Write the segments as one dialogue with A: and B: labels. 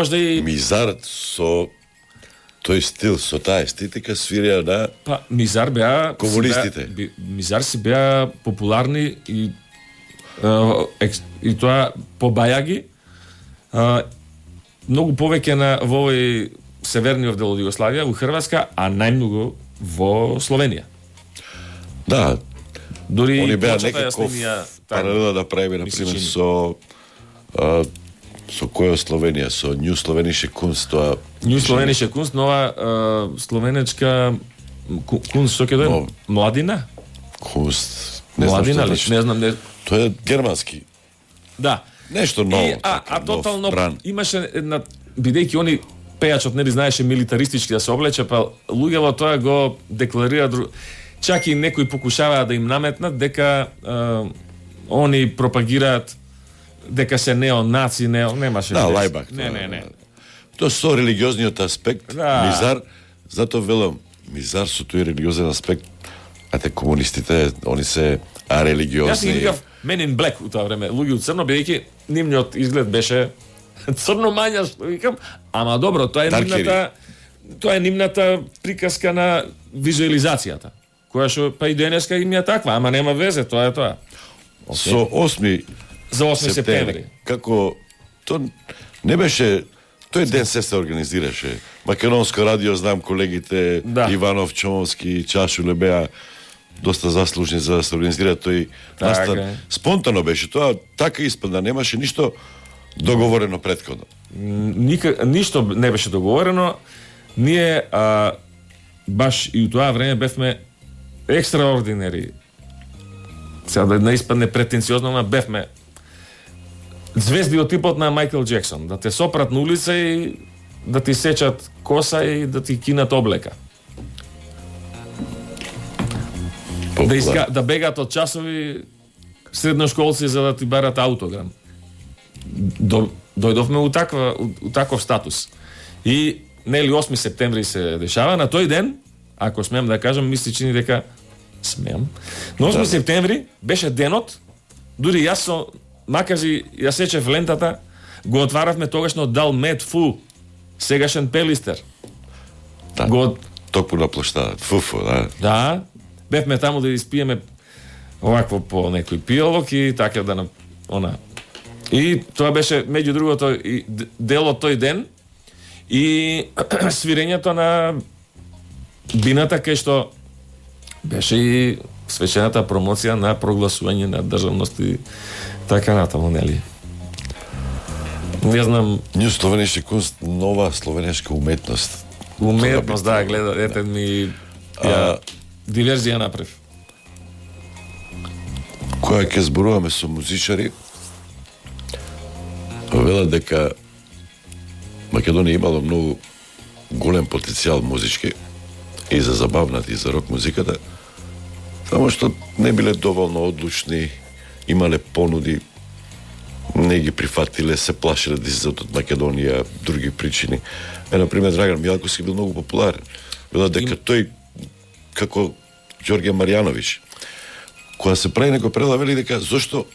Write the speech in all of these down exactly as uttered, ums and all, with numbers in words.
A: Можда и
B: Мизар со тој стил, со таа естетика свирија на
A: па Мизар беа
B: комунистите.
A: си беа, Мизар си беа популарни и Uh, екс, и тоа по бајаги uh, многу повеќе на во овој северниот дел од Југославија, у Хрватска, а најмногу во Словенија.
B: Да,
A: Дори
B: они беа
A: плочата ја
B: некаков
A: снимија
B: паралела да правиме, например, со а, со која Словенија, со Нью Словеnische Kunst, тоа
A: Нью Словеnische Kunst, нова uh, словенечка кунст, што ќе дојде?
B: Но,
A: Младина?
B: Kunst, не знам
A: Младина
B: што
A: ли?
B: значи.
A: Не знам, не...
B: Тоа е германски.
A: Да.
B: Нешто ново.
A: И, а, а
B: нов
A: тотално
B: бран.
A: имаше една, бидејќи они пејачот нели знаеше милитаристички да се облече, па луѓето тоа го декларира дру... Чак и некои покушаваа да им наметнат дека е, они пропагираат дека се неонаци, нео, немаше.
B: Да,
A: видеш.
B: лајбак.
A: Не, не, не.
B: Тоа со религиозниот аспект,
A: Да.
B: Мизар, затоа велам, Мизар со тој религиозен аспект, а те комунистите, они се а религиозни.
A: Јас ги викав Men in Black у тоа време, луѓе од црно, бидејќи нивниот изглед беше црно мања, што викам, ама добро, тоа е
B: Даркери.
A: нивната тоа е нивната приказка на визуализацијата, која што па и денеска им е таква, ама нема везе, тоа е тоа.
B: Со осми
A: За осми септември.
B: Како то не беше тој ден се се организираше. Македонско радио, знам колегите
A: Да.
B: Иванов, Чомовски, Чашуле беа доста заслужни за да се организира тој
A: Така
B: настан.
A: е.
B: Спонтано беше тоа, така испадна, немаше ништо договорено претходно.
A: Ника, ништо не беше договорено. Ние а, баш и у тоа време бевме екстраординери. Сега да не испадне претенциозно, ама бевме звезди од типот на Майкл Джексон, да те сопрат на улица и да ти сечат коса и да ти кинат облека. Да, иска, да бегаат од часови средношколци за да ти барат аутограм. До, дојдовме у, таква, у, у таков статус. И нели осми септември се дешава, на тој ден, ако смеам да кажам, мисли чини дека смеам. На осми
B: Да.
A: септември беше денот, дури јас со макази ја сечев лентата, го отваравме тогашно Далмет Фу, сегашен Пелистер.
B: Да.
A: Го
B: Токму на площада, фуфу, да.
A: Да, бевме таму да испиеме овакво по некој пијалок и така да на она. И тоа беше меѓу другото и д- дел од тој ден и свирењето на бината кај што беше и свечената промоција на прогласување на државност и така натаму, нели? Не знам,
B: Нью Словеnische Kunst, нова словенешка уметност.
A: уметност
B: Тоа
A: да
B: би
A: гледа,
B: требало,
A: ете ми
B: А,
A: ја диверзија направи.
B: Која ќе зборуваме со музичари, велат дека Македонија имало многу голем потенцијал музички и за забавната и за рок музиката, само што не биле доволно одлучни, имале понуди, не ги прифатиле, се плашиле да излезат од Македонија, други причини. Е, например, Драган Милковски бил многу популарен. Велат дека тој, како Ѓорѓе Марјановиќ, кога се прави некој предлаг, вели дека зошто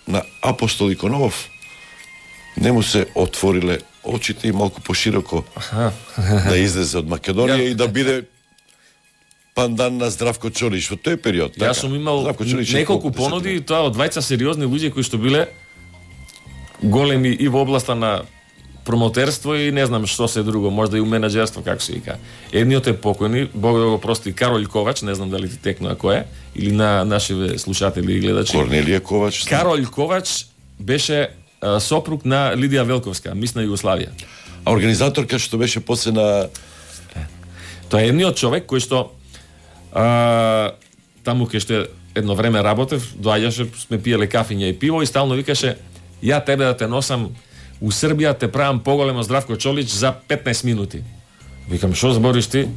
B: на Апостол Иконов не му се отвориле очите и малку пошироко да излезе од Македонија и да биде пандан на Здравко Чолич во тој период.
A: Јас сум имал
B: Здравко Чолич е
A: неколку
B: колку,
A: понуди и
B: десет
A: тоа од двајца сериозни луѓе кои што биле големи и во областа на промотерство и не знам што се друго, можда и у менаџерство, како се вика. Едниот е покојни, Бог да го прости, Каролј Ковач, не знам дали ти текнува кој е, или на нашиве слушатели и гледачи.
B: Корнелија Ковач.
A: Каролј Ковач беше а, сопруг на Лидија Велковска, мис на Југославија.
B: А организаторка што беше после на
A: Тоа е едниот човек кој што а, таму кај што едно време работев, доаѓаше, сме пиеле кафиња и пиво и стално викаше: "Ја тебе да те носам у Србија, те правам поголемо Здравко Чолич за петнаесет минути." Викам: "Што збориш ти?"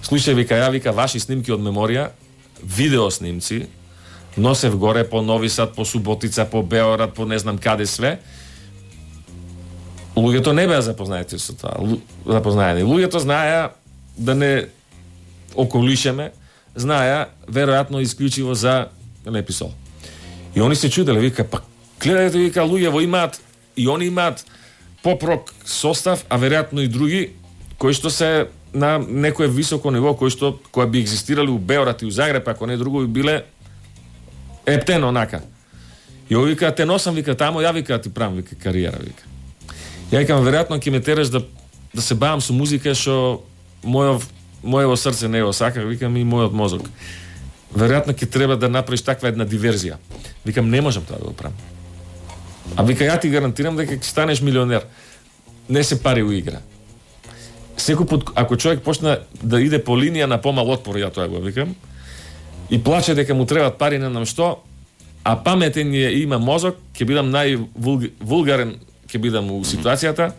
A: Слушај, вика, ја вика ваши снимки од меморија, видео снимци, носев горе по Нови Сад, по Суботица, по Беорад, по не знам каде све. Луѓето не беа запознаети со тоа. Лу... Запознаени. Луѓето знаеа да не околишеме, знаеа веројатно исклучиво за Леписол. И они се чуделе, вика, па гледајте, вика, луѓе во имаат и они имаат поп-рок состав, а веројатно и други кои што се на некое високо ниво, кои што кои би екзистирали у Београд и у Загреб, ако не друго би биле ептено онака. И ови вика, те носам, вика, тамо, ја вика, ти правам, вика, кариера, вика. Ја викам, веројатно ќе ме тераш да да се бавам со музика што мојов моево срце не го сака, викам, и мојот мозок. Веројатно ќе треба да направиш таква една диверзија. Викам, не можам тоа да го правам. А вика, ја ти гарантирам дека ќе станеш милионер. Не се пари у игра. Секој пат, ако човек почна да иде по линија на помал отпор, ја тоа го викам, и плаче дека му требаат пари, не знам што, а паметен е и има мозок, ќе бидам највулгарен, ќе бидам у ситуацијата,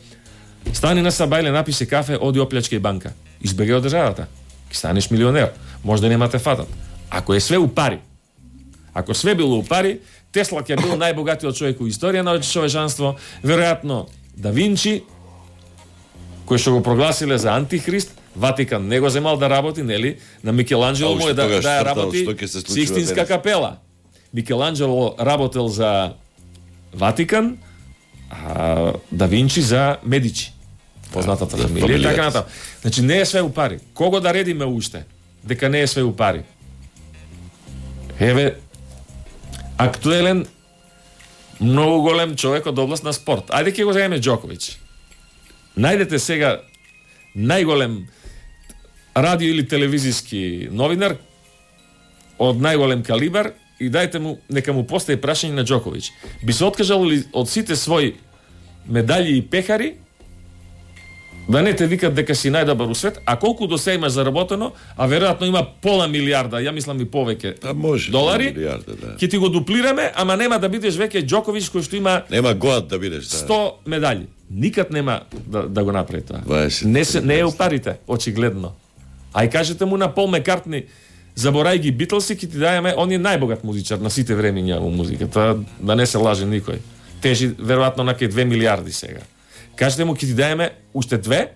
A: стани на сабајле, напише кафе, оди оплячка и банка. Избегај од државата. Ќе станеш милионер. Може да нема те фатат. Ако е све у пари, ако све било у пари, Тесла ќе бил најбогатиот човек у историја на човечанство, веројатно Да Винчи, кој што го прогласиле за антихрист, Ватикан не го земал да работи, нели? На Микеланджело му е да, да ја работи Сикстинска капела. Микеланджело работел за Ватикан, а Да Винчи за Медичи. Познатата фамилија и така натаму. Значи не е све у пари. Кого да редиме уште дека не е све у пари? Еве актуелен многу голем човек од област на спорт. Ајде ќе го земеме Џоковиќ. Најдете сега најголем радио или телевизиски новинар од најголем калибар и дајте му, нека му постави прашање на Џоковиќ. Би се откажал ли од сите своји медали и пехари да не те викат дека си најдобар у свет, а колку до се имаш заработено, а веројатно има пола милиарда, ја мислам и повеќе
B: а може,
A: долари,
B: милиарда, да.
A: Ќе ти го дуплираме, ама нема да бидеш веќе Џоковиќ кој што има
B: нема год да бидеш, да.
A: сто медали. Никад нема да, да го направи тоа.
B: дваесет
A: Не се не е у парите, очигледно. Ај кажете му на Пол Маккартни, заборај ги Битлси, ќе ти дајаме, он е најбогат музичар на сите времиња во музиката, да не се лаже никој. Тежи веројатно на кај две милиарди сега. Кажете му, ќе ти дајаме уште две,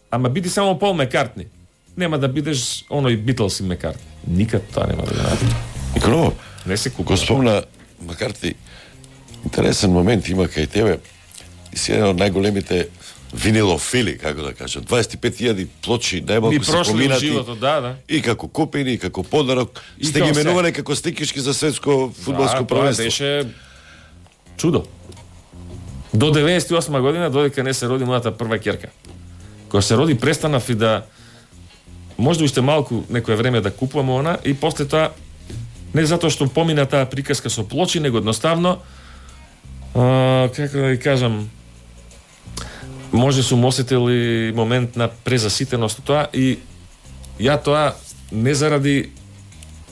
A: ама биди само Пол Маккартни. Нема да бидеш оној Битлси Маккартни. Никад тоа нема да го направи.
B: Никола,
A: не се купува.
B: Го спомна Маккартни, интересен момент има кај тебе. И си еден од најголемите винилофили, како да кажам. дваесет и пет илјади плочи, најмалку се поминати.
A: Животот, да, да.
B: И како купени, и како подарок.
A: И
B: сте ги менувале како стикишки за светско фудбалско
A: да,
B: првенство.
A: Да, беше чудо. До деветдесет и осма година, додека не се роди мојата прва ќерка. Кога се роди, престанав и да може уште малку некое време да купувам она и после тоа не затоа што помина таа приказка со плочи, него едноставно а, како да ви кажам, може сум осетил и момент на презаситеност тоа и ја тоа не заради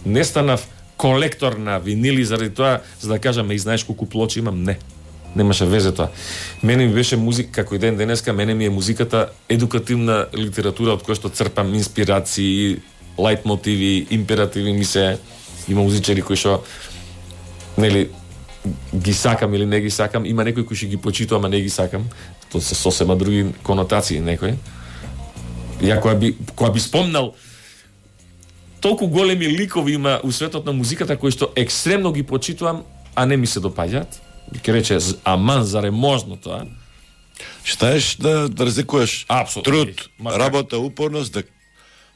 A: не станав колектор на винили заради тоа за да кажам и знаеш колку плочи имам, не. Немаше везе тоа. Мене ми беше музика, како и ден денеска, мене ми е музиката едукативна литература од која што црпам инспирации, лајт мотиви, императиви ми се. Има музичари кои што нели ги сакам или не ги сакам, има некои кои што ги почитувам, а не ги сакам. Тоа се сосема други конотации некои. Ја која би која би спомнал толку големи ликови има у светот на музиката кои што екстремно ги почитувам, а не ми се допаѓаат. Ке рече, аман, заре можно тоа?
B: Штаеш да, да разликуваш
A: Апсолютно.
B: труд, работа, упорност, да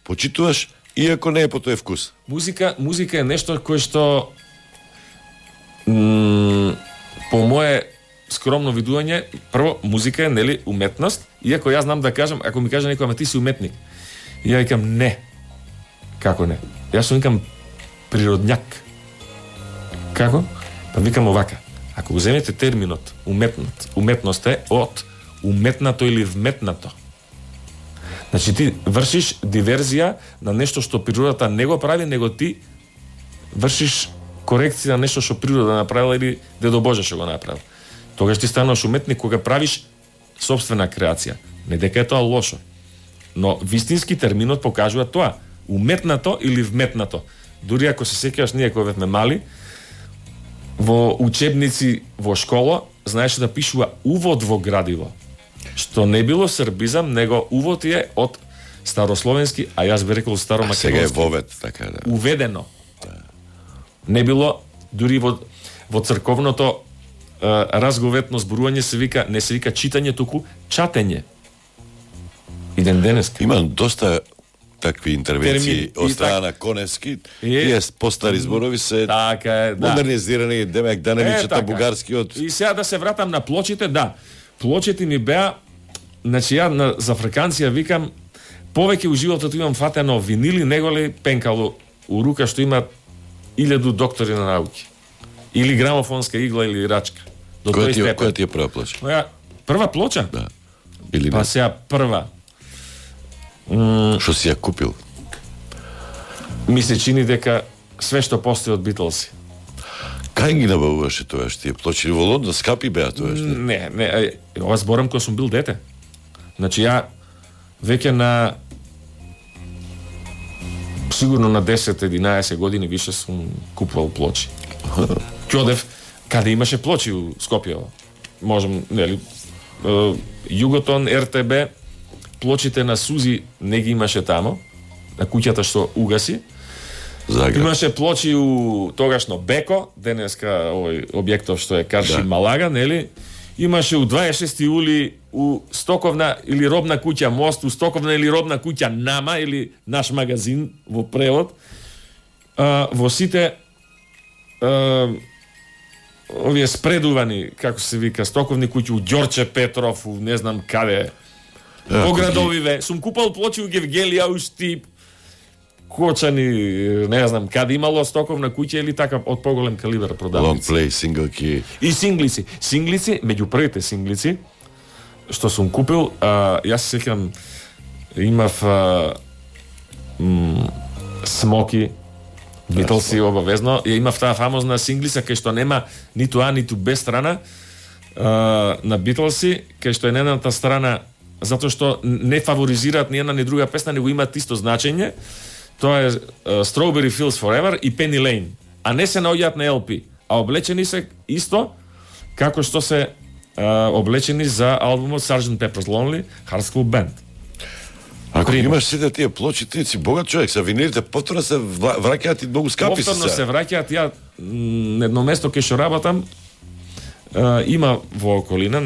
B: почитуваш, иако не е по тој вкус.
A: Музика, музика е нешто кое што м, по мое скромно видување, прво, музика е, нели, уметност, иако јас знам да кажам, ако ми каже некој, ама ти си уметник. И ја викам, не. Како не? Јас сум викам природњак. Како? Па викам овака. Ако го земете терминот уметност, уметност е од уметнато или вметнато. Значи ти вршиш диверзија на нешто што природата не го прави, него ти вршиш корекција на нешто што природа направила или Дедо Боже што го направил. Тогаш ти стануваш уметник кога правиш сопствена креација. Не дека е тоа лошо. Но вистински терминот покажува тоа. Уметнато или вметнато. Дури ако се сеќаваш ние кога бевме мали, во учебници во школа знаеше да пишува увод во градиво. Што не било србизам, него увод е од старословенски, а јас би рекол старомакедонски.
B: Сега е вовед, така да.
A: Уведено. Не било дури во во црковното разговетно зборување се вика, не се вика читање, туку чатење. И ден денес.
B: Имам доста такви интервенции
A: Термини.
B: од
A: И
B: страна
A: так-
B: на Коневски.
A: Е,
B: Тие постари зборови се
A: Така е, да.
B: модернизирани, демек да не ни
A: Е,
B: чета
A: така.
B: бугарскиот.
A: И сега да се вратам на плочите, да. Плочите ми беа, значи ја на, за фраканција викам, повеќе у животот имам фатено винили, него ли пенкало у рука што има илјаду доктори на науки. Или грамофонска игла или рачка. До
B: Која
A: тој
B: ти, е-
A: степен.
B: која ти е прва плоча?
A: Моја прва плоча?
B: Да. Или
A: Па
B: не?
A: сега прва.
B: Што си ја купил?
A: Ми се чини дека све што постои од Битлси.
B: Кај ги набавуваше тоа што тие плочи? Во Лондон скапи беа тоа што?
A: Не, не, е, ова зборам кога сум бил дете. Значи ја веќе на сигурно на десет-единаесет години више сум купувал плочи. Ќе одев каде имаше плочи у Скопје. Можем, нели, е, Југотон, Р Т Б, плочите на Сузи не ги имаше тамо, на куќата што угаси.
B: Загреб.
A: Имаше плочи у тогашно Беко, денеска овој објектов што е Карши
B: Да.
A: Малага, нели? Имаше у дваесет и шести ули у стоковна или робна куќа Мост, у стоковна или робна куќа Нама или наш магазин во превод. А, во сите а, овие спредувани, како се вика, стоковни куќи у Ѓорче Петров, у не знам каде.
B: Е,
A: По
B: ако ги-
A: градовиве. Сум купал плочи у Гевгелија, у Штип, Кочани, не знам, каде имало стоковна куќа или така од поголем калибар
B: Long
A: продавници.
B: play, single key.
A: И синглици. Синглици, меѓу првите синглици, што сум купил, а, јас се сеќам, имав а, м, Смоки, Битлси обавезно, ја имав таа фамозна синглица кај што нема ниту А, ниту Б страна а, на Битлси, кај што е на едната страна затоа што не фаворизираат ни една ни друга песна, него имаат исто значење. Тоа е uh, Strawberry Fields Forever и Penny Lane, а не се наоѓаат на Л П, а облечени се исто како што се uh, облечени за албумот Sergeant Pepper's Lonely Hearts Club Band.
B: Ако
A: Пример.
B: имаш сите тие плочи, ти си богат човек, са винилите повторно се вра- враќаат и многу скапи се.
A: Повторно се
B: сега.
A: враќаат, ја м, едно место кај што работам, uh, има во околина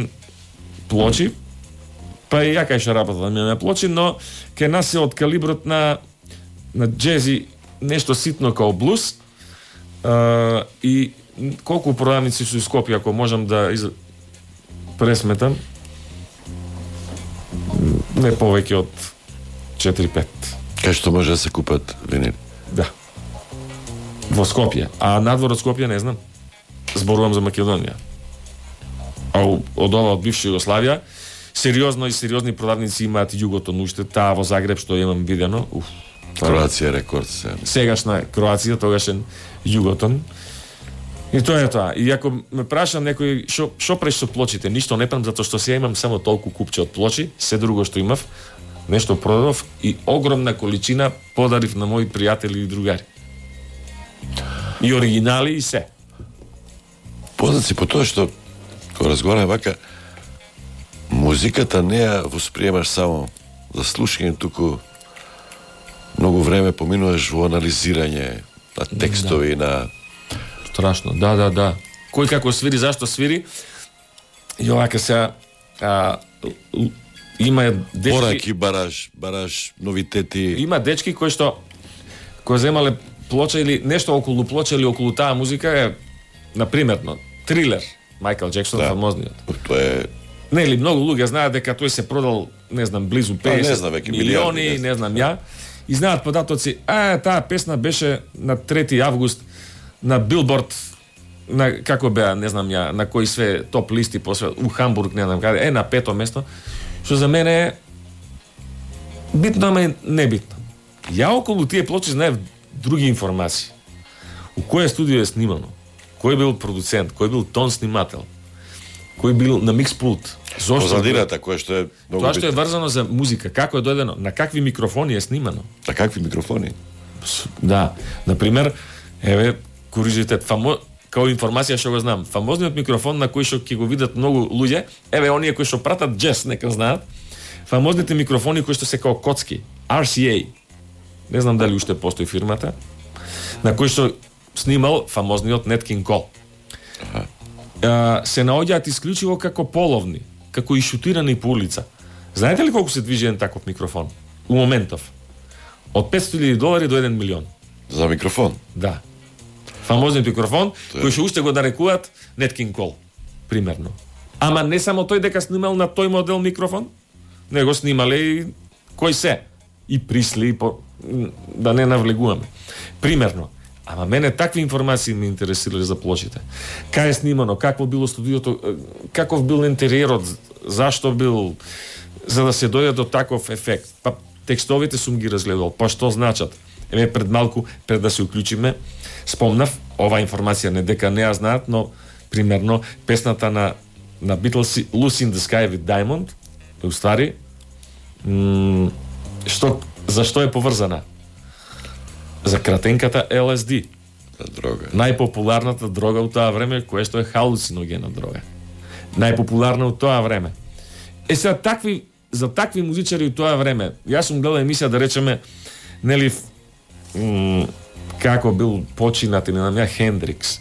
A: плочи, па и ја кај што работам имаме плочи, но кај нас е од калиброт на на джези, нешто ситно као блуз, а, и колку продавници се у Скопје, ако можам да из... пресметам, не повеќе од четири-пет.
B: Кај што може да се купат винили?
A: Да. Во Скопје. А надвор од Скопје не знам. Зборувам за Македонија. А у- од ова од бивша Југославија, сериозно и сериозни продавници имаат Југотон уште, таа во Загреб што имам видено. Уф.
B: Кроација рекорд се.
A: Сегашна Кроација, тогашен Југотон. И тоа е тоа. И ако ме прашам некој што што преш со плочите, ништо не правам затоа што сега имам само толку купче од плочи, се друго што имав, нешто продав и огромна количина подарив на мои пријатели и другари. И оригинали и се.
B: Познат си по тоа што кога разговараме вака, музиката не ја восприемаш само за слушање, туку многу време поминуваш во анализирање на текстови, на
A: Страшно. Да, да, да. Кој како свири, зашто свири? И овака сега а, л- има дечки,
B: пораки, бараш, бараш новитети.
A: има дечки кои што кои земале плоча или нешто околу плоча или околу таа музика е напримерно Трилер, Майкл Джексон,
B: Да.
A: фамозниот.
B: Тоа е
A: Нели многу луѓе знаат дека тој се продал, не знам, близу
B: Па, не
A: педесет
B: знам, веќе
A: милиони,
B: милиарди, не
A: не знам ја. И знаат податоци, а таа песна беше на трети август на Билборд, на како беа, не знам ја, на кои све топ листи по све, у Хамбург, не знам каде, е на пето место, што за мене е битно, ама и небитно. Ја околу тие плочи знаев други информации. У кој студио е снимано, кој бил продуцент, кој бил тон снимател, кој бил на микс пулт. Зошто?
B: позадината која што е многу
A: Тоа што е
B: битно.
A: врзано за музика, како е дојдено, на какви микрофони е снимано.
B: На какви микрофони?
A: С- Да, например, еве, курижитет, фамо... као информација што го знам, фамозниот микрофон на кој што ќе го видат многу луѓе, еве, оние кои што пратат джез, нека знаат, фамозните микрофони кои што се као коцки, Р С А, не знам дали уште постои фирмата, на кој што снимал фамозниот Нет Кинг Кол. а, се наоѓаат исклучиво како половни, како и шутирани по улица. Знаете ли колку се движи еден таков микрофон? У моментов. Од петстотини илјади долари до еден милион.
B: За микрофон?
A: Да. Фамозниот микрофон,
B: Тој...
A: кој што уште го нарекуваат Nat King Cole, примерно. Ама не само тој дека снимал на тој модел микрофон, него снимале и кој се. И Присли, по... да не навлегуваме. Примерно. Ама мене такви информации ме интересирале за плочите. Кај е снимано, какво било студиото, каков бил интериерот, зашто бил, за да се дојде до таков ефект. Па текстовите сум ги разгледал, па што значат. Еве пред малку, пред да се уклучиме, спомнав, ова информација не дека не ја знаат, но примерно песната на на Beatles Lucy in the Sky with Diamond, уствари, м- што зашто е поврзана? За кратенката Ел Ес Ди.
B: За дрога.
A: Најпопуларната дрога у тоа време, која што е халуциногена дрога. Најпопуларна у тоа време. Е сега такви, за такви музичари у тоа време, јас сум гледал емисија, да речеме, нели, м- како бил починат или на ја Хендрикс.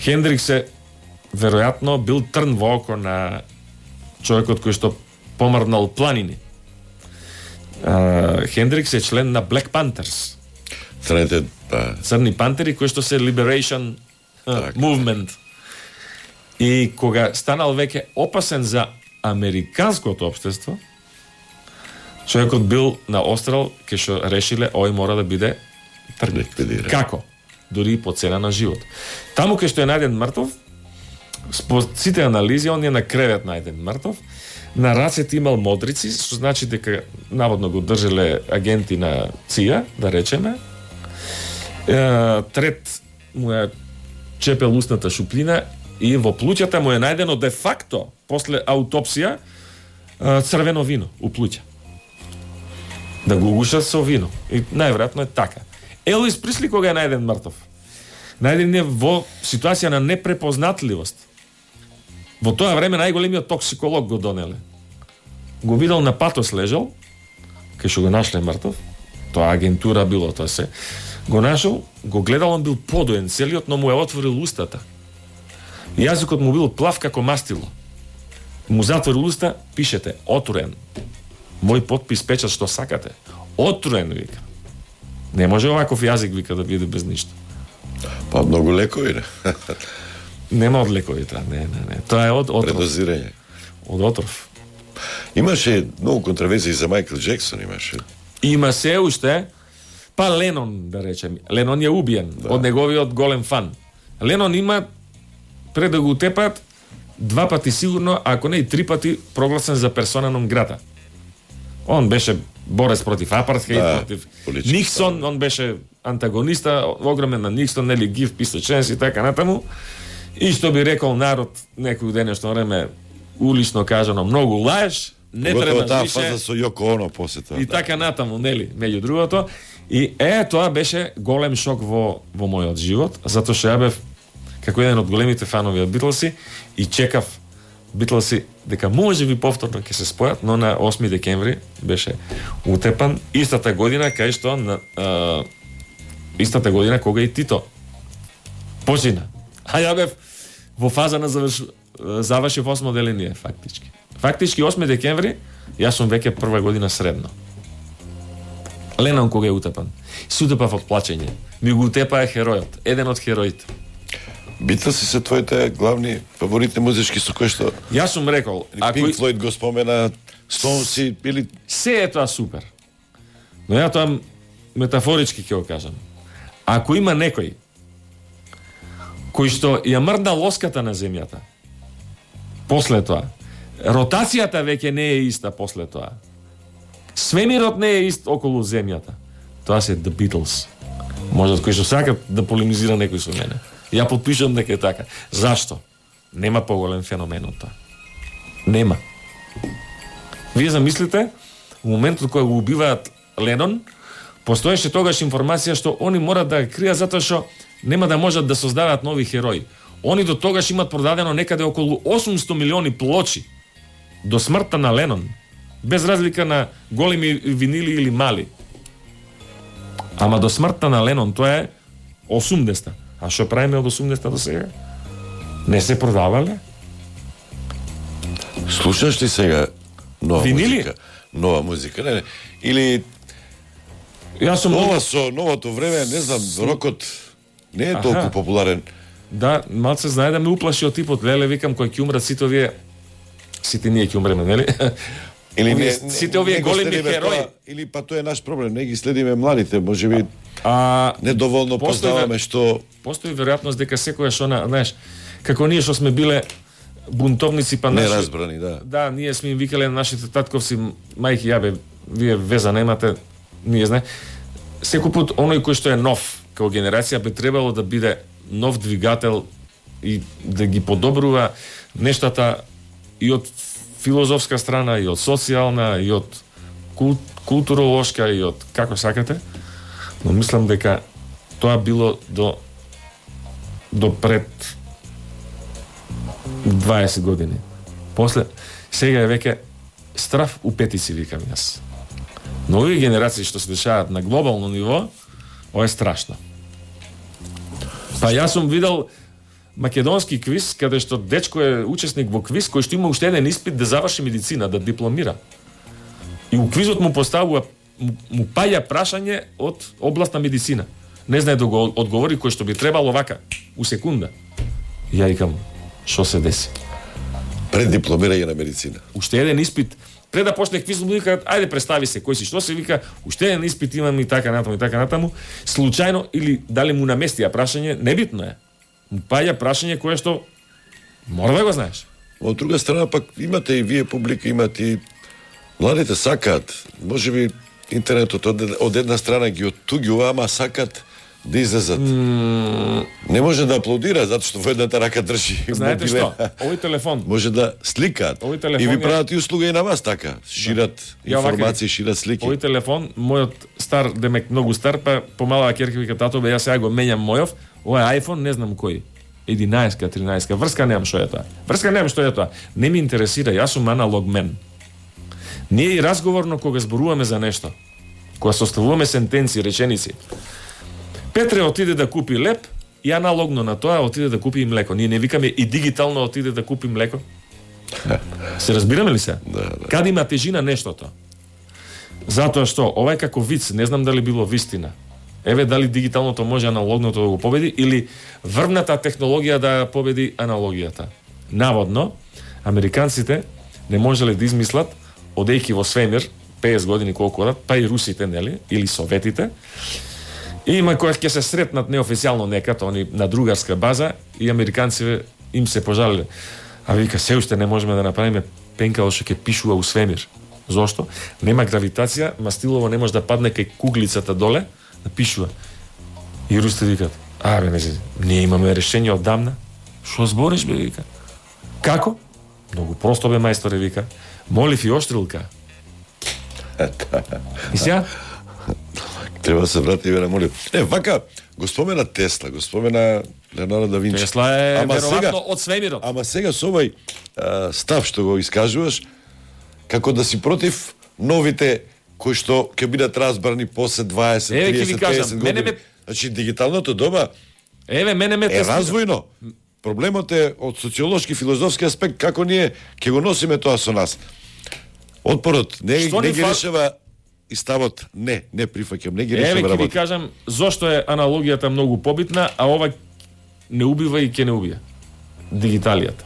A: Хендрикс е веројатно бил трн во око на човекот кој што помрднал планини. Uh, Хендрикс е член на Black Panthers.
B: Црните, па...
A: Црни пантери, кои што се Liberation uh, Movement. И кога станал веќе опасен за американското општество, човекот бил на острел, кај што решиле ој мора да биде тргнат. Како? Дури и по цена на живот. Таму кај што е најден мртов, според сите анализи, он е на кревет најден мртов, на рацете имал модрици, што значи дека наводно го држеле агенти на ЦИА, да речеме. Е, трет му е чепел устната шуплина и во плуќата му е најдено де факто, после аутопсија, црвено вино у плуќа. Да го угушат со вино. И најверојатно е така. Елвис Присли кога е најден мртов? Најден е во ситуација на непрепознатливост. Во тоа време најголемиот токсиколог го донеле. Го видел на патос лежал, кај што го нашле мртов, тоа агентура било тоа се, го нашол, го гледал, он бил подоен целиот, но му е отворил устата. Јазикот му бил плав како мастило. Му затворил уста, пишете, отруен. Мој подпис, печат, што сакате. Отруен, вика. Не може оваков јазик, вика, да биде без ништо.
B: Па многу лекови, не?
A: Нема од лекови, таа, не, не, не. Тоа е од отров.
B: Предозирање.
A: Од отров.
B: Имаше многу контроверзии за Майкл Джексон, имаше.
A: Има се уште, па Ленон, да речем. Ленон е убиен, да. Од неговиот голем фан. Ленон има, пред да го утепат, два пати сигурно, ако не и три пати, прогласен за персона нон грата. Он беше борец против апартхейд, да, против Никсон, стан. Он беше антагониста, огромен на Никсон, нели гив писаченс и така натаму. И што би рекол народ некој денешно време, улично кажано, многу лаеш, не треба
B: таа
A: више.
B: фаза со Јоко Оно после тоа.
A: И
B: да.
A: така натаму, нели, меѓу другото. И е, тоа беше голем шок во во мојот живот, затоа што ја бев како еден од големите фанови од Битлси и чекав Битлси дека може би повторно ќе се спојат, но на осми декември беше утепан истата година кај што на а, истата година кога и Тито почина. А ја бев во фаза на заврш... завршив осмо деление, фактички. Фактички осми декември, јас сум веќе прва година средно. Ленон кога е утепан. Се утепав од плачење. Ми го утепаа херојот, еден од хероите.
B: Битлси се твоите главни фаворитни музички со кои што...
A: Јас сум рекол...
B: Пинк Флојд го спомена, Стоунси или...
A: Се е тоа супер. Но ја тоа метафорички ќе го кажам. Ако има некој кој што ја мрдна лоската на земјата, после тоа, ротацијата веќе не е иста после тоа. Свемирот не е ист околу земјата. Тоа се The Beatles. Може кој што сака да полемизира некој со мене. Ја потпишам дека е така. Зашто? Нема поголем феномен од тоа. Нема. Вие замислите, во моментот кога го убиваат Ленон, постоеше тогаш информација што они мора да кријат затоа што нема да можат да создаваат нови херои. Они до тогаш имат продадено некаде околу осумсто милиони плочи до смртта на Ленон, без разлика на големи винили или мали. Ама до смртта на Ленон тоа е осумдесета. А што правиме од осумдесета до сега? Не се продавале?
B: Слушаш ли сега нова
A: Винили?
B: музика? Нова музика, не, не. Или
A: Јас сум
B: ова со новото време, не знам, рокот не е толку
A: Аха.
B: популарен.
A: Да, малце знае да ме уплаши од типот, леле, викам, кој ќе умрат сите овие, сите ние ќе умреме, нели?
B: Или не,
A: Овие- сите овие
B: не го
A: големи
B: следиме
A: херои.
B: тоа, или па тоа е наш проблем, не ги следиме младите, можеби
A: А
B: недоволно
A: Постои-
B: познаваме што
A: постои веројатност дека секојаш она, знаеш, како ние што сме биле бунтовници, па наши...
B: неразбрани, да.
A: Да, ние сме им викале на нашите татковци, мајки, јабе, вие веза немате, ние знае. Секој пат оној кој што е нов, како генерација, би требало да биде нов двигател и да ги подобрува нештата и од филозофска страна, и од социјална, и од кул, културолошка, и од како сакате. Но мислам дека тоа било до до пред дваесет години. После, сега е веќе страв у петици, викам јас. Но овие генерации што се дешаваат на глобално ниво, ова е страшно. Па јас сум видел македонски квиз, каде што дечко е учесник во квиз, кој што има уште еден испит да заврши медицина, да дипломира. И у квизот му поставува, му, му паја прашање од област на медицина. Не знае да го одговори кој што би требало вака, у секунда. И ја викам, што се деси?
B: Пред дипломирање на медицина.
A: Уште еден испит, пред да почне квиз, му викаат, ајде представи се кој си, што се вика, уште еден испит имам и така натаму и така натаму, случајно или дали му наместија прашање, небитно е. Му паја прашање кое што мора да го знаеш.
B: Од друга страна пак имате и вие публика, имате и младите сакаат, можеби интернетот од, од една страна ги оттуѓува, ама сакаат да излезат. Mm. Не може да аплодира затоа што во едната рака држи
A: Знаете
B: мобилен.
A: што? Овој телефон,
B: Може да сликаат.
A: Овој телефон
B: И ви
A: е-
B: прават и услуга и на вас така. Шират
A: Ја вака
B: информации, шират слики.
A: овој телефон, мојот стар, демек многу стар, па помалава ќерка вика тато, бе јас сега го менјам мојов, ова е iPhone, не знам кој. единаесет, тринаесет, врска немам што е тоа. Врска немам што е тоа. Не ми интересира, јас сум аналог мен. Ние и разговорно кога зборуваме за нешто, кога составуваме сентенци, реченици. Петре отиде да купи леп и аналогно на тоа отиде да купи и млеко. Ние не викаме и дигитално отиде да купи млеко. Се разбираме ли се?
B: Да, да.
A: Каде има тежина нештото? Затоа што ова е како виц, не знам дали било вистина. Еве дали дигиталното може аналогното да го победи или врвната технологија да ја победи аналогијата. Наводно, американците не можеле да измислат одејки во свемир петдесет години колку одат, па и русите, нели, или советите. И има која ќе се сретнат неофицијално некад, они на другарска база, и американците им се пожалиле. А вика, се уште не можеме да направиме пенкало што ќе пишува у свемир. Зошто? Нема гравитација, мастилово не може да падне кај куглицата доле, да пишува. И русите викат, а бе, не се, ние имаме решение оддамна. Што збориш, бе, вика? Како? Многу просто, бе, мајсторе, вика. Молив иоштрилка. И сега?
B: Треба да се вратиме на молив. Не, вака, го спомена Тесла, го спомена Леонардо да Винчи.
A: Тесла е
B: Ама
A: веројатно
B: сега-
A: од свемирот.
B: Ама сега со овој а, став што го искажуваш, како да си против новите кои што ќе бидат разбрани после дваесет,
A: Еве, ќе ви
B: триесет,
A: кажам,
B: петдесет
A: мене
B: години.
A: ме-
B: Значи, дигиталното доба
A: Еве, мене ме
B: е
A: Тесла.
B: развојно. Проблемот е од социолошки, филозофски аспект, како ние ќе го носиме тоа со нас. Отпорот не,
A: Што
B: не
A: ни
B: ги
A: фал-
B: решава и ставот не, не прифаќам, не ги
A: Еве
B: решава
A: ќе ви
B: работа.
A: кажам зошто е аналогијата многу побитна, а ова не убива и ќе не убија. Дигиталијата.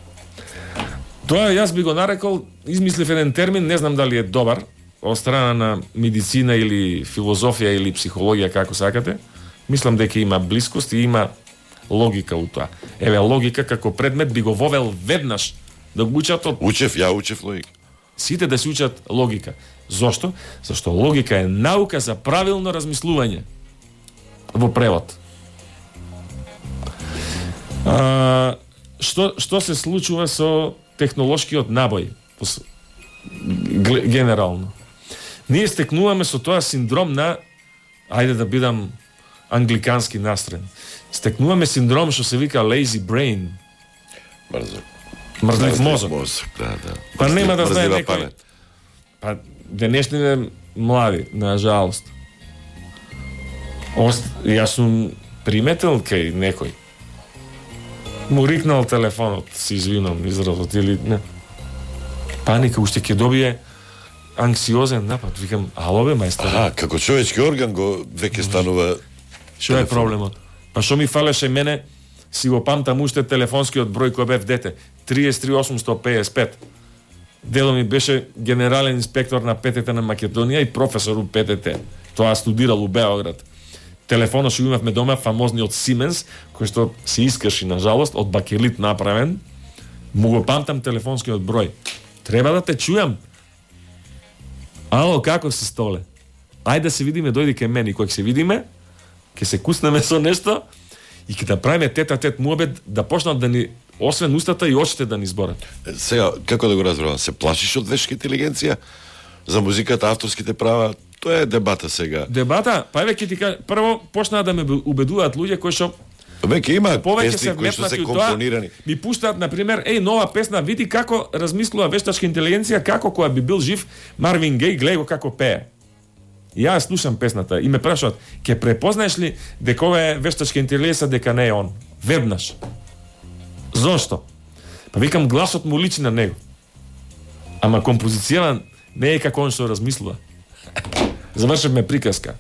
A: Тоа јас би го нарекол, измислив еден термин, не знам дали е добар, од страна на медицина или филозофија или психологија, како сакате. Мислам дека има блискост и има логика у тоа. Еве, логика како предмет би го вовел веднаш да го учат од
B: Учев, ја учев логика.
A: сите да се учат логика. Зошто? Зашто логика е наука за правилно размислување во превод. А, што, што се случува со технолошкиот набој? Пос- г- Генерално. Ние стекнуваме со тоа синдром на, ајде да бидам англикански настроен, стекнуваме синдром што се вика lazy brain,
B: Мрзок.
A: мрзлив мозок.
B: Мозок, да, да.
A: Па нема да знае
B: Мрзлива
A: некој.
B: памет.
A: Па денешните млади, на жалост. Ост, јас сум приметил кај некој. Му рикнал телефонот, се извинам изразот или не. Паника, уште ќе добие анксиозен напад. Викам, ало бе, мајстор.
B: Аха, како човечки орган го веќе станува.
A: Што е проблемот? Па што ми фалеше мене, си го памтам уште телефонскиот број кој бев дете, триесет и три осумстотини и пеесет и пет. Дедо ми беше генерален инспектор на П Т Т на Македонија и професор у П Т Т. Тоа студирал у Београд. Телефонот што имавме дома, фамозниот Сименс, кој што се искрши, на жалост, од бакелит направен. Му го памтам телефонскиот број. Треба да те чујам. Ало, како си, Столе? Ајде да се видиме, дојди кај мене. И кога се видиме, ќе се куснеме со нешто и ќе да правиме тет-а-тет муабет, да почнат да ни, освен устата и очите да ни зборат.
B: Сега, како да го разберам, се плашиш од вештка интелигенција за музиката, авторските права? Тоа е дебата сега.
A: Дебата, па еве ќе ти кажа, прво почнаа да ме убедуваат луѓе кои што
B: веќе има
A: повеќе
B: песни кои што се компонирани.
A: Ми пуштаат на пример, еј, нова песна, види како размислува вештачка интелигенција, како кога би бил жив Марвин Геј, гледај го како пее. И јас слушам песната и ме прашаат, ќе препознаеш ли дека ова е вештачка интелигенција, дека не е он? Веднаш. Зошто? Па викам, гласот му личи на него. Ама композицијата не е како он што размислува. Завршивме приказка.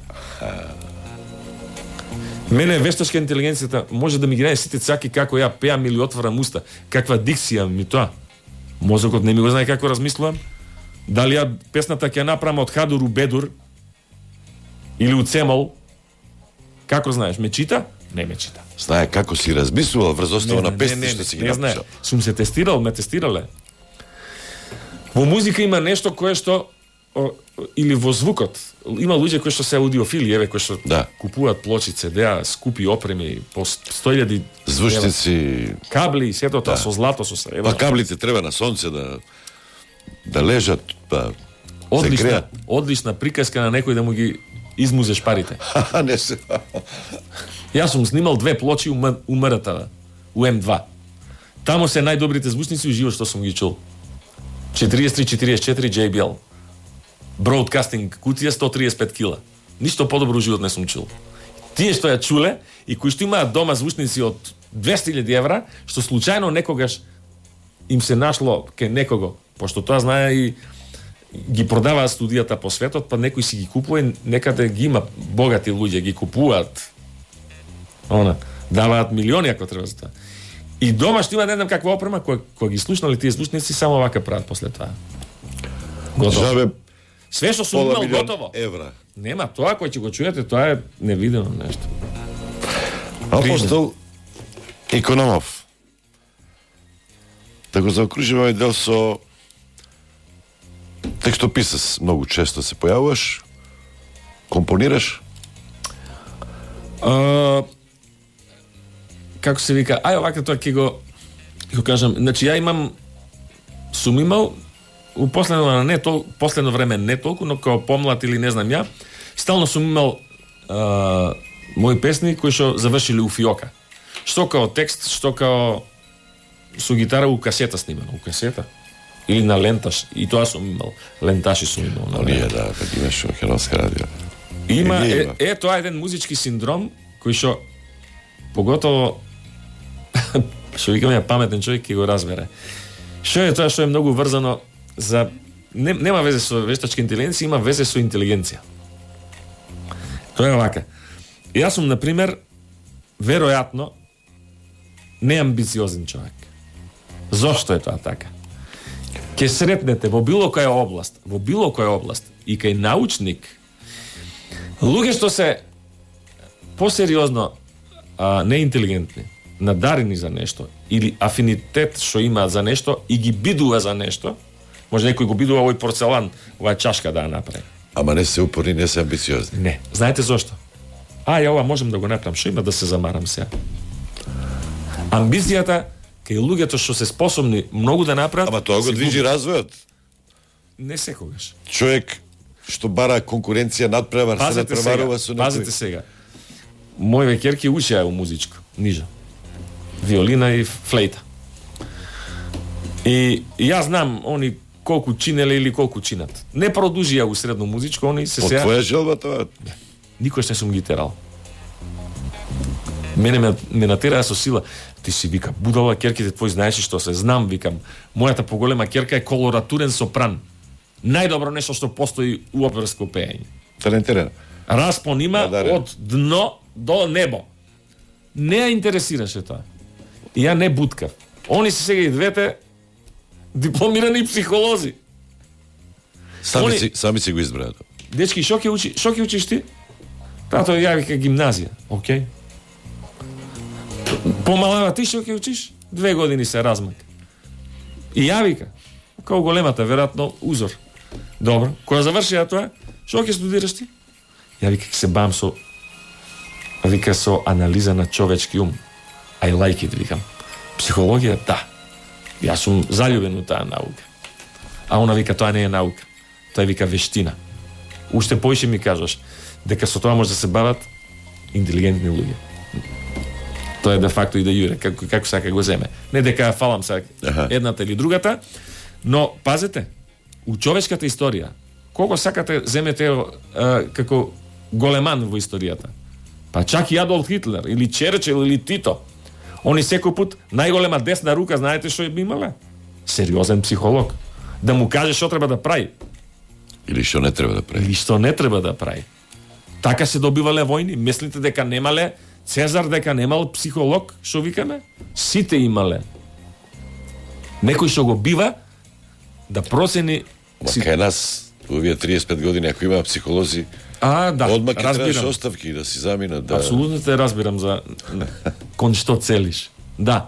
A: Мене вештачка интелигенцијата може да ми ги најде сите цаки како ја пеам или отварам уста. Каква дикција ми тоа. Мозокот не ми го знае како размислувам. Дали ја песната ќе направам од Хадур у Бедур или у Цемол. Како знаеш, ме чита? Не ме чита.
B: Знае како си размислувал врз основа на песни што си ги напишал.
A: Сум се тестирал, ме тестирале. Во музика има нешто кое што о, или во звукот. Има луѓе кои што се аудиофили, еве кои што
B: да.
A: Купуваат плочи, цедеа, скупи опреми по сто илјади
B: звучници,
A: кабли и сето тоа
B: да.
A: Со злато со се.
B: Па каблите треба на сонце да да лежат, па
A: одлична, одлична приказка на некој да му ги измузеш парите.
B: Не се.
A: Јас сум снимал две плочи у М Р Т В, у М два. Таму се најдобрите звучници уживо што сум ги чул. четириесет и три четириесет и четири J B L. Broadcasting кутија сто триесет и пет кила. Ништо подобро живот не сум чул. Тие што ја чуле и кои што имаат дома звучници од двесте илјади евра, што случајно некогаш им се нашло ке некого, пошто тоа знае и ги продаваат студијата по светот, па некој си ги купува, некаде ги има богати луѓе, ги купуваат. Она, даваат милиони ако треба за тоа. И дома што има не знам каква опрема, која, која ги слушнали тие звучници, само вака прават после тоа.
B: Готово.
A: Све што сум имал готово.
B: Евра.
A: Нема, тоа кој ќе го чуете, тоа е невидено нешто.
B: Апостол Икономов. Да го заокружиме овој дел со текстописец. Многу често се појавуваш, компонираш.
A: А, како се вика, ај овака тоа ќе го ќе го кажам. Значи ја имам сум имал у последно не тол, последно време не толку, но како помлад или не знам ја, стално сум имал а, мои песни кои што завршиле у фиока. Што као текст, што као со гитара у касета снимано, у касета или на ленташ. И тоа сум имал, ленташи сум имал.
B: Но ние да, да имаш во Херонска радио.
A: Има е, е тоа еден музички синдром кој што поготово што викаме паметен човек ќе го разбере. Што е тоа што е многу врзано за не, нема везе со вештачка интелигенција, има везе со интелигенција. Тоа е вака. Јас сум на пример веројатно неамбициозен човек. Зошто е тоа така? Ке сретнете во било која област, во било која област и кај научник, луѓе што се посериозно а, неинтелигентни, надарени за нешто или афинитет што имаат за нешто и ги бидува за нешто, може некој го бидува овој порцелан, оваа чашка да ја направи.
B: Ама не се упорни, не се амбициозни.
A: Не. Знаете зошто? А, ја ова можам да го направам, што има да се замарам сега? Амбицијата кај луѓето што се способни многу да направат.
B: Ама тоа го движи развојот.
A: Не секогаш.
B: Човек што бара конкуренција, надпревар, се надпреварува со некој.
A: Пазете сега. Мој веќерки учеа у музичко, нижа. Виолина и флейта. И јас знам они колку чинеле или колку чинат. Не продужија у средно музичко, они се сега.
B: Од твоја желба тоа?
A: Никош не сум ги терал. Мене ме, ме натераа со сила. Ти си, вика, будала, керките твои знаеш што се. Знам, викам. Мојата поголема керка е колоратурен сопран. Најдобро нешто што постои у оперско пеење.
B: Талентирана.
A: Распон има
B: Надарен.
A: од дно до небо. Не ја интересираше тоа. И ја не буткав. Они се сега и двете дипломирани психолози.
B: Сами,
A: Они...
B: си, сами си го избраат.
A: Дечки, шо ќе учи, шо ќе учиш ти? Тато ја вика гимназија. Океј. Помалава ти шо ќе учиш? Две години се размак. И ја вика, као големата, веројатно узор. Добро, кога завршија тоа, шо ќе студираш ти? Ја вика, ќе се бам со вика со анализа на човечки ум. I like it, викам. Психологија, да. Јас сум заљубен у таа наука. А она вика, тоа не е наука. Тоа вика вештина. Уште поише ми кажаш дека со тоа може да се бават интелигентни луѓе. Тоа е де факто и да јуре, како, како сака го земе. Не дека ја фалам сака едната или другата, но пазете, у човечката историја, колко сакате земете а, како големан во историјата. Па чак и Адолф Хитлер, или Черчил, или Тито. Они секој пат најголема десна рука, знаете што би имале? Сериозен психолог. Да му каже што треба да прави.
B: Или што не треба да прави.
A: Или што не треба да прави. Така се добивале војни. Мислите дека немале Цезар, дека немал психолог, што викаме? Сите имале. Некој што го бива да процени...
B: Ма кај нас, овие триесет и пет години, ако има психолози,
A: А, да,
B: одма ќе требаш
A: разбирам.
B: оставки да си заминат. Да.
A: Апсолутно те разбирам за кон што целиш. Да.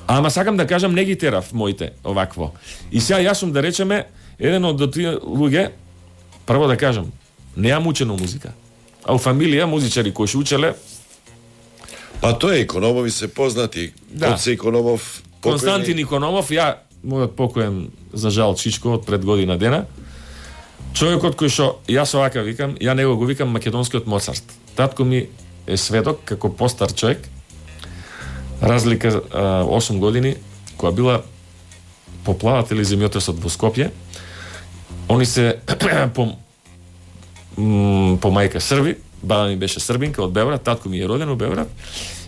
A: Ама сакам да кажам, не ги терав моите овакво. И сега јас сум, да речеме, еден од тие луѓе, прво да кажам, неам учено музика. А у фамилија музичари кои ше учеле,
B: Па тоа е, Икономови се познати.
A: Да.
B: Коце Икономов, покојни.
A: Константин Икономов, ја, мојот покоен, за жал, Чичко, од пред година дена, човекот кој што, јас овака викам, ја него го викам македонскиот Моцарт. Татко ми е сведок, како постар човек, разлика а, осум години, која била поплаватели земјотресот во Скопје, они се по, м, по мајка Срби, баба ми беше србинка од Београд, татко ми е роден во Београд,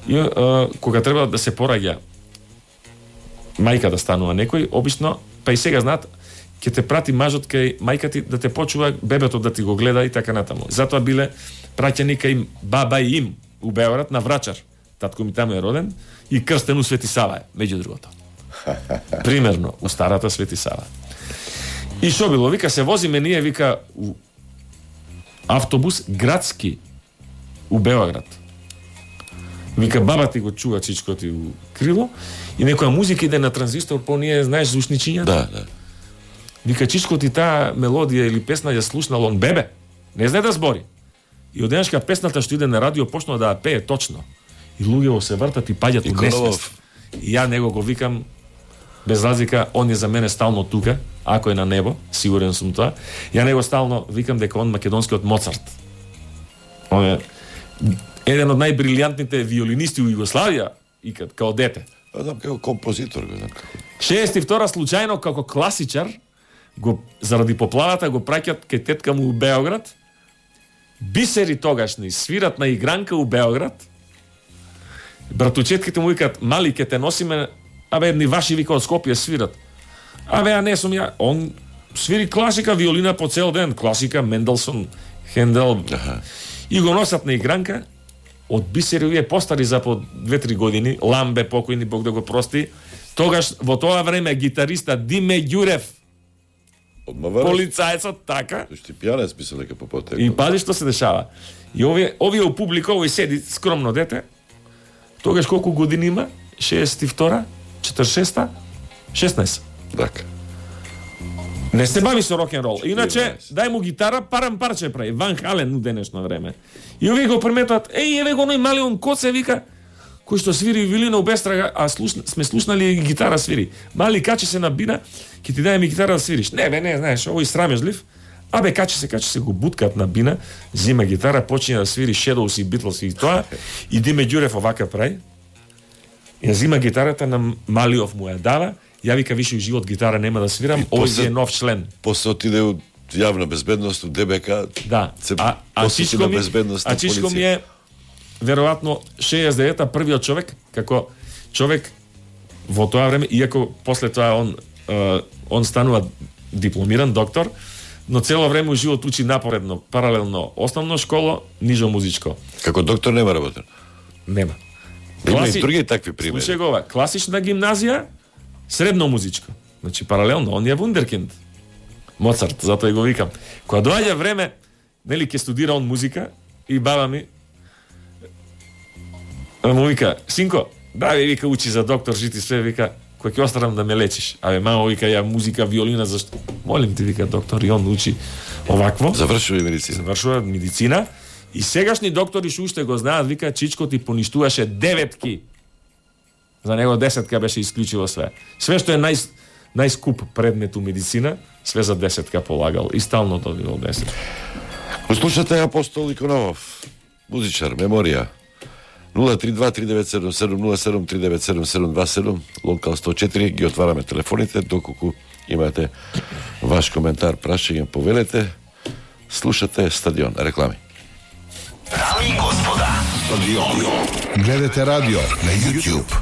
A: и а, кога треба да се пораѓа мајка да станува некој, обично, па и сега знаат, ќе те прати мажот кај мајка ти да те почува бебето да ти го гледа и така натаму. Затоа биле праќани кај баба и им у Београд на Врачар. Татко ми таму е роден и крстен у Свети Сава е, меѓу другото. Примерно, у старата Свети Сава. И шо било? Вика, се возиме ние, вика, у автобус градски у Београд. Вика, баба ти го чува Чичко ти у крило и некоја музика иде на транзистор, по ние, знаеш, звучничињата?
B: Да, да.
A: Вика, Чичко ти таа мелодија или песна ја слушнал он бебе. Не знае да збори. И одеднашка песната што иде на радио почнува да ја пее точно. И луѓето се вртат и паѓаат у несвест. И ја него го викам, без разлика, он е за мене стално тука, ако е на небо, сигурен сум тоа. Ја него стално викам дека он македонскиот Моцарт. Он е еден од најбрилијантните виолинисти у Југославија, и као дете.
B: Па знам како композитор, го знам како.
A: шеесет и втора случајно како класичар го заради поплавата го праќат кај тетка му у Београд. Бисери тогашни свират на игранка у Београд. Братучетките му викаат: "Мали, ке те носиме, абе едни ваши вика од Скопје свират." Абе, ја не сум ја. Он свири класика, виолина по цел ден, класика, Менделсон, Хендел.
B: Аха.
A: И го носат на игранка. Од бисери овие постари за по две-три години, Ламбе покојни, Бог да го прости. Тогаш во тоа време гитариста Диме Ѓурев,
B: Одмава.
A: полицајецот, така.
B: Што ти пијанец мислел дека по потек.
A: И пази што се дешава. И овие овие у публика, овој седи скромно дете. Тогаш колку години има? шеесет и втора, четиридесет и шеста, шеснаесет.
B: Така.
A: Не се бави со рок-н-рол. Иначе,
B: четирнаесет.
A: дај му гитара, парам парче прави. Ван Хален у денешно време. И овие го приметуват: "Еј, еве го оној малион коце", вика, кој што свири вилина у Бестрага, а слушна, сме слушнали и гитара свири. Мали, качи се на бина, ќе ти дај ми гитара да свириш. Не, бе, не, знаеш, овој срамежлив. Абе, качи се, качи се, го буткат на бина, зима гитара, почине да свири Shadows и Beatles и тоа, и Диме Ѓурев овака прави. Ја зима гитарата на Малиов му ја дава, ја вика: "Више у живот гитара нема да свирам, овој
B: после-
A: е нов член."
B: После отиде у јавна безбедност, у ДБК.
A: Да.
B: Се
A: А, а
B: посвети
A: Чичко
B: на
A: ми,
B: безбедност
A: а
B: на
A: Чичко ми
B: полиција.
A: е веројатно шеесет и девета првиот човек, како човек во тоа време, иако после тоа он он станува дипломиран доктор, но цело време живот учи напоредно, паралелно основно школа, нижо музичко.
B: Како доктор нема работен?
A: Нема.
B: Има
A: Класи...
B: и други такви примери.
A: Слушај го ова, класична гимназија, средно музичко. Значи паралелно, он е вундеркинд. Моцарт, затоа и го викам. Кога доаѓа време, нели ќе студира он музика и баба ми му вика, синко, дави, вика, учи за доктор, жити све, вика, кој ќе оставам да ме лечиш. Абе, мамо, вика, ја музика, виолина, зашто? Молим ти, вика, доктор, и он учи овакво.
B: Завршува и медицина.
A: Завршува медицина. И сегашни доктори што уште го знаат, вика, Чичко ти поништуваше деветки. За него десетка беше исклучиво све. Све што е нај, најскуп предмет у медицина, све за десетка полагал. И стално добивал десетка.
B: Го слушате Апостол Икономов, музичар, меморија. нула три два три девет седум седум нула седум три девет седум седум два седум, локал сто четири, ги отвараме телефоните, доколку имате ваш коментар, прашање, повелете. Слушате Стадион, реклами.
C: Дами и господа, Стадион.
D: Гледате радио на YouTube.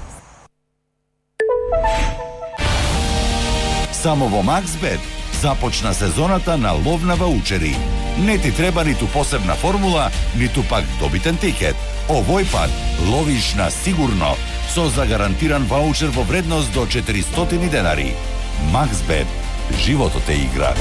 C: Само во Максбет започна сезоната на лов на ваучери. Не ти треба ниту посебна формула, ниту пак добитен тикет. Овој пат ловиш на сигурно со загарантиран ваучер во вредност до четиристотини денари. Максбет, животот е игра.